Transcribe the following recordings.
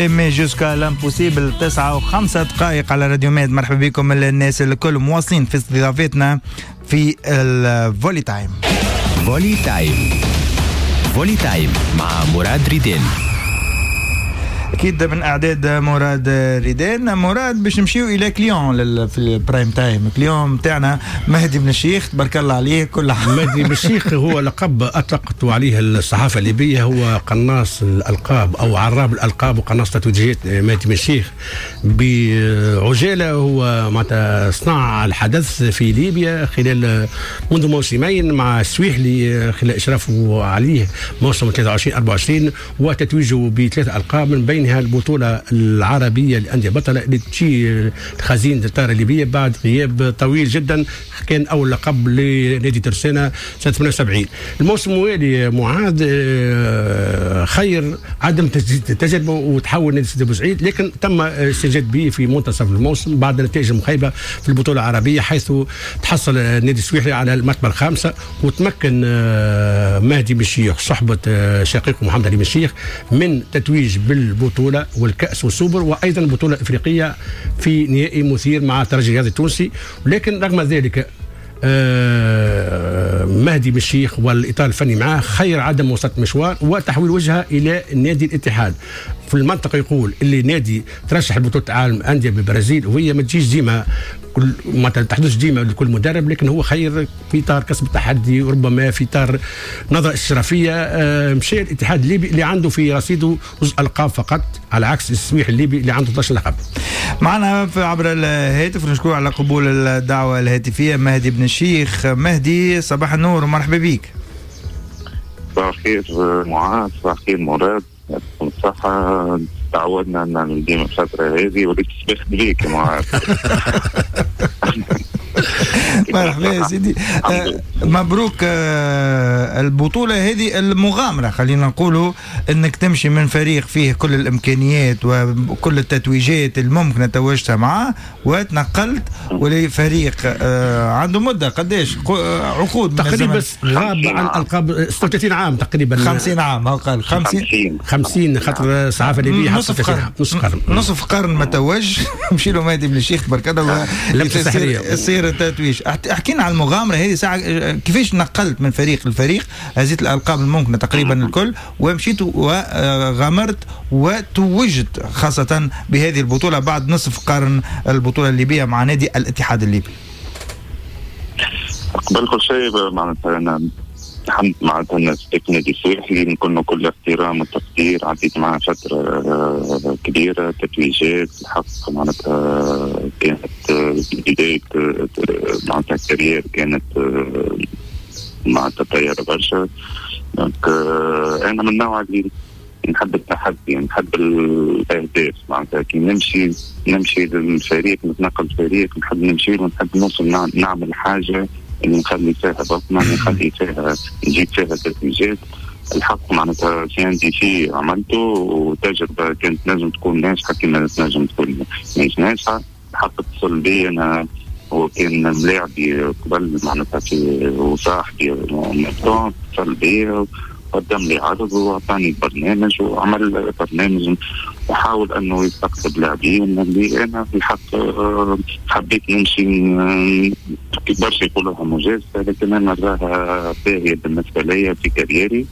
Aimer jusqu'à l'impossible. 9:05 على راديو ماد. مرحبا بكم الناس الكل، مواصلين في استضافتنا في ال Volley Time. Volley Time، Volley Time مع مراد ريدين. اكيد من اعداد مراد ريدان. مراد، باش نمشيو الى client في ال prime time، client تاعنا مهدي بن الشيخ، تبارك الله عليه كل عام. مهدي بن الشيخ هو لقب اطلقت عليه الصحافة الليبيه، هو قناص الالقاب او عراب الالقاب وقناص تتويجات. مهدي بن الشيخ بعجاله هو معناتها صنع الحدث في ليبيا خلال منذ موسمين مع السويحلي، خلال اشرافه عليه موسم 23 24 وتتويجه بثلاث القاب، من بينها البطولة العربية للأندية البطلة اللي تجي خزينة الطائرة الليبية بعد غياب طويل جدا. كان أول لقب لنادي ترسانة سنة 78. الموسم الموالي معاذ خير عدم تجديد التجربة وتحول نادي سيدي بوسعيد، لكن تم استنجاد به في منتصف الموسم بعد نتائج مخيبة في البطولة العربية، حيث تحصل النادي السويحلي على المرتبة الخامسة، وتمكن مهدي بن الشيخ صحبة شقيقه محمد علي بن الشيخ من تتويج بالبطولة والكأس والسوبر وأيضا البطولة الإفريقية في نهائي مثير مع الترجي الرياضي التونسي. ولكن رغم ذلك مهدي بن الشيخ والإطار الفني معاه خير عدم وسط مشوار وتحويل وجهه إلى نادي الاتحاد. في المنطقة يقول اللي نادي ترشح لبطولة العالم أندية بالبرازيل، وهي ما تجيش ديما كل ما تحدث ديما لكل مدرب، لكن هو خير في اطار كسب التحدي وربما في اطار نظره اشرافيه مشى الاتحاد الليبي اللي عنده في رصيده جزء القاب فقط، على عكس السويح الليبي اللي عنده 12 لقب. معنا عبر الهاتف، نشكره على قبول الدعوة الهاتفية، مهدي بن الشيخ. مهدي، صباح النور ومرحبا بك. صباح الخير معاذ، صباح الخير مراد، يعطيكم الصحة. تعودنا أن ديما الفترة هذه وليت سبخت بيك يا معاذ. مرحبا يا سيدي، مبروك البطولة هذه، المغامرة خلينا نقولوا انك تمشي من فريق فيه كل الامكانيات وكل التتويجات الممكنة توجتها معاه، وتنقلت ولفريق عنده مدة قداش عقود تقريبا غاب عن القاب 36 عام تقريبا، 50 عام هو قال 50 50 خاطر الصحافة الليبية نصف قرن، نصف قرن، نصف قرن ما توج. مشي له مهدي بن الشيخ تبارك الله يصير التتويج. احكينا على المغامرة هذه ساعة، كيفاش نقلت من فريق لفريق، هزيت الألقاب الممكنة تقريبا الكل ومشيت وغامرت وتوجت خاصة بهذه البطولة بعد نصف قرن، البطولة الليبية مع نادي الاتحاد الليبي. قبل كل شيء معناتها أنا الحمد معناتها نادي السويحلي نكون كل احترام وتقدير، عديت معاه فترة كبيرة تتويجات الحق معناتها كانت بداية معناتها carrière كانت معناتها طيارة برشا. donc أنا من النوع اللي نحب التحدي، نحب الأهداف، معناتها كي نمشي للفريق، نتنقل فريق، نحب نمشي ونحب نوصل نعمل حاجة اللي نخلي فيها بصمة، نخلي فيها نجيب فيها تتويجات. الحق معناتها في عندي شيء عملته وتجربة كانت نجم تكون ناجحة كما تنجم تكون مش ناجحة. الحق اتصل بي أنا، هو كان ملاعبي قبل معناتها في وصاحبي اتصل بي وقدم لي عرض وأعطاني برنامج وعمل برنامج وحاول أنه يستقطب لاعبين اللي أنا الحق حبيت نمشي. برشا يقولوها مجازفة، لكن أنا نراها باهية بالنسبة لي في carrière ي.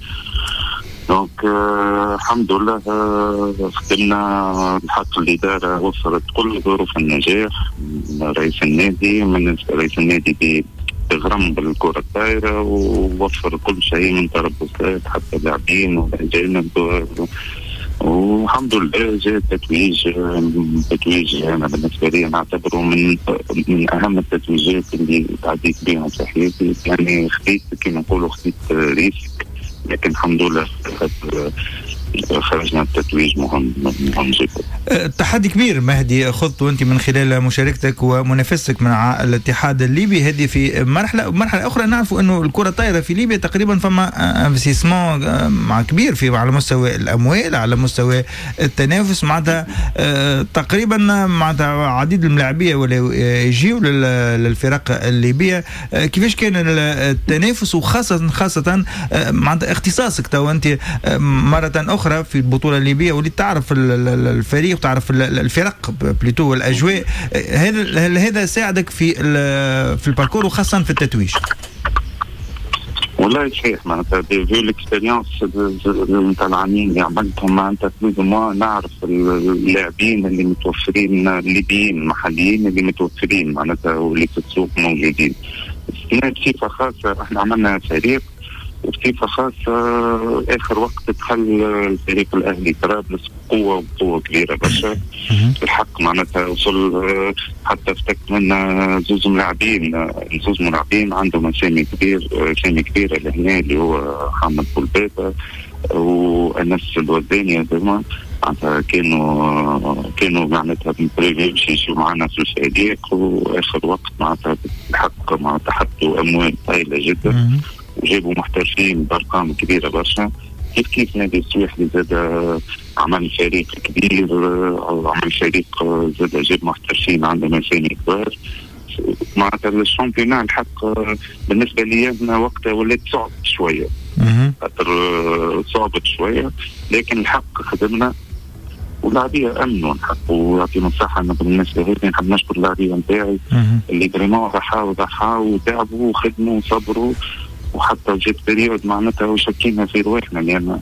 donc الحمد لله خدمنا الحق، الإدارة وفرت كل ظروف النجاح. رئيس النادي من رئيس النادي تغرم بالكرة الطائرة ووفر كل شيء من تربصات حتى لاعبين والأجانب، والحمد لله جاء تتويج. تتويج أنا بالنسبة لي نعتبره من أهم التتويجات اللي تعديت بهم في حياتي. يعني خديت كما نقولوا خديت risque، لكن الحمد لله خرجنا بتتويج مهم مهم جدا. تحدي كبير مهدي خضته انت من خلال مشاركتك ومنافستك مع الاتحاد الليبي، هذه في مرحلة اخرى. نعرف انه الكره الطايره في ليبيا تقريبا فما investissement مع كبير في على مستوى الاموال، على مستوى التنافس، معناتها تقريبا معناتها عديد الملاعبيه ولا يجيو للفرق الليبية. كيفاش كان التنافس، وخاصة خاصة معناتها اختصاصك تو انت مرة اخرى اخرى في البطولة الليبية، واللي تعرف الفريق وتعرف الفرق plutôt والاجواء، هذا ساعدك في ال parcours وخاصة في التتويج؟ والله صحيح، معناتها vu l'expérience نتاع العامين اللي عملتهم، معناتها plus ou moins نعرف اللاعبين اللي متوفرين، الليبيين المحليين اللي متوفرين معناتها واللي في السوق موجودين. بصفة خاصة احنا عملنا فريق، وبصفه خاصة اخر وقت دخل الفريق الاهلي طرابلس بقوة وقوه كبيرة برشا الحق، معناتها وصل حتى افتك منا زوز ملاعبين عندهم اسامي كبيرة لهنا، اللي هو حمد بولبابه وانس الوزاني، هذوما معناتها كانوا معناتها prévus باش يمشيو معنا في الفريق، واخر وقت معناتها الحق معناتها حطوا اموال طايله جدا وجابوا محترفين بارقام كبيرة برشا. كيف نادي السويحلي زاد عمل فريق كبير، عمل فريق زاد جاب محترفين عندهم اسامي كبار. معناتها ال championnat الحق بالنسبة لي انا وقتها ولات صعب شوية، خاطر صعبت شوية، لكن الحق خدمنا واللاعبيه امنوا الحق، ويعطيهم الصحة. انا بالنسبة لي نحب نشكر اللاعبيه نتاعي اللي vraiment ضحاو وتعبوا وخدموا وصبروا، وحتى جات période معناتها وشكينا في رواحنا، لان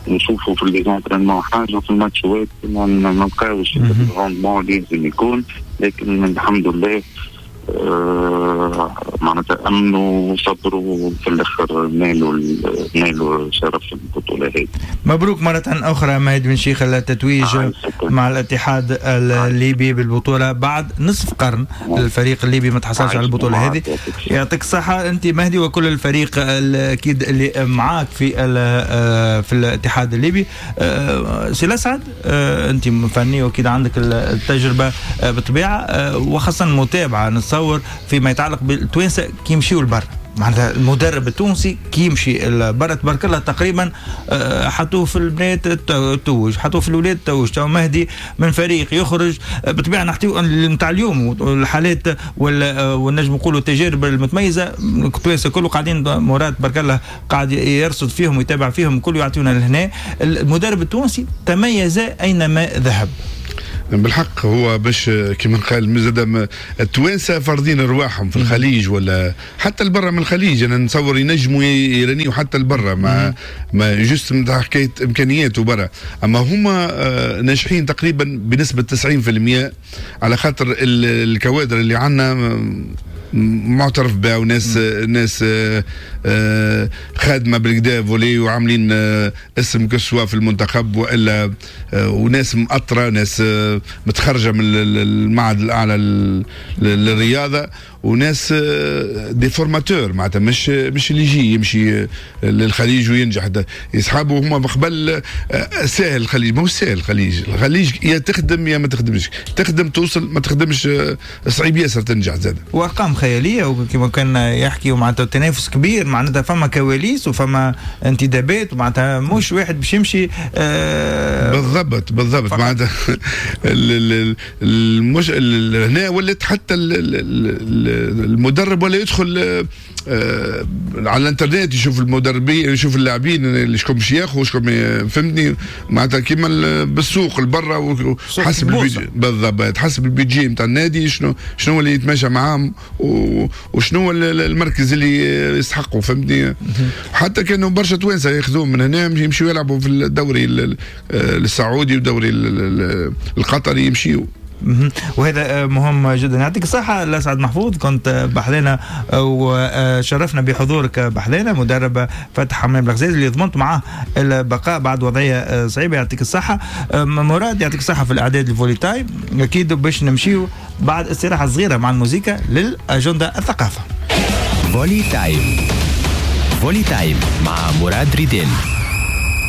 نشوفوا في les entraînements حاجة وفي الماتشات ما نلقاوش ال rendement اللي لازم يكون، لكن الحمد لله معناتها امنوا وصبروا وفي الاخر نالوا شرف البطولة هذه. مبروك مرة اخرى مهدي بن شيخ التتويج مع الاتحاد الليبي بالبطولة بعد نصف قرن. الفريق الليبي ما تحصلش على البطولة هذه. يعطيك الصحة انت مهدي وكل الفريق اكيد اللي معاك في الاتحاد الليبي. سي الاسعد، انت فني واكيد عندك التجربة بالطبيعة، وخاصة المتابعة نتصور فيما يتعلق بالتوانسه كي يمشيوا لبرا، معناتها المدرب التونسي كي يمشي لبرا تبارك الله تقريبا حطوه في البنات توج، حطوه في الاولاد توج. تو مهدي من فريق يخرج بالطبيعة، نحكيو نتاع اليوم والحالات والنجم نقولوا التجارب المتميزة، التوانسة كله قاعدين مراد تبارك الله قاعد يرصد فيهم ويتابع فيهم، كله يعطيونا لهنا. المدرب التونسي تميز اينما ذهب. بالحق هو باش كما قال مزاد التوانسة فارضين رواحهم في الخليج ولا حتى البرة من الخليج، انا نتصور ينجموا يرنيوا حتى البرة، ما juste نتاع حكاية امكانيات وبرا، اما هما ناجحين تقريبا بنسبة 90% على خاطر الكوادر اللي عندنا معترف بها، وناس ناس خادمه بالكدا volley وعاملين اسم كسوا في المنتخب والا، وناس مأطره، ناس متخرجة من المعهد الاعلى للرياضة، وناس des formateurs معناتها مش اللي يجي يمشي للخليج وينجح. يسحبوا هما قبل ساهل الخليج، ما هو ساهل الخليج، الخليج يا تخدم يا ما تخدمش، تخدم توصل، ما تخدمش صعيب ياسر تنجح زاد. وارقام خيالية وكما كان يحكي، ومعناتها تنافس كبير، معناتها فما كواليس وفما انتدابات، ومعناتها مش واحد باش يمشي بالضبط بالضبط معناتها هنا ولات حتى المدرب ولا يدخل على الانترنت يشوف المدربين، يشوف اللاعبين اللي شكون باش ياخذ شكون، فهمتني معناتها كيما بالسوق البرا، حسب ال budget بالضبط، حسب ال budget نتاع النادي شنو اللي يتماشى معاهم وشنو المركز اللي يستحقوا، فهمتني. حتى كانوا برشا توانسة ياخذوهم من هنا يمشيوا يلعبوا في الدوري السعودي والدوري القطري يمشيوا. وهذا مهم جدا. يعطيك الصحة الأسعد محفوظ، كنت بحذانا وشرفنا بحضورك بحذانا، مدرب فتح حمام الغزاز اللي ضمنت معاه البقاء بعد وضعية صعيبة. يعطيك الصحة مراد، يعطيك الصحة في الإعداد ال Volley Time. أكيد باش نمشيو بعد استراحة صغيرة مع الموسيقى للأجندة الثقافة. Volley Time، Volley Time مع مراد ريدين.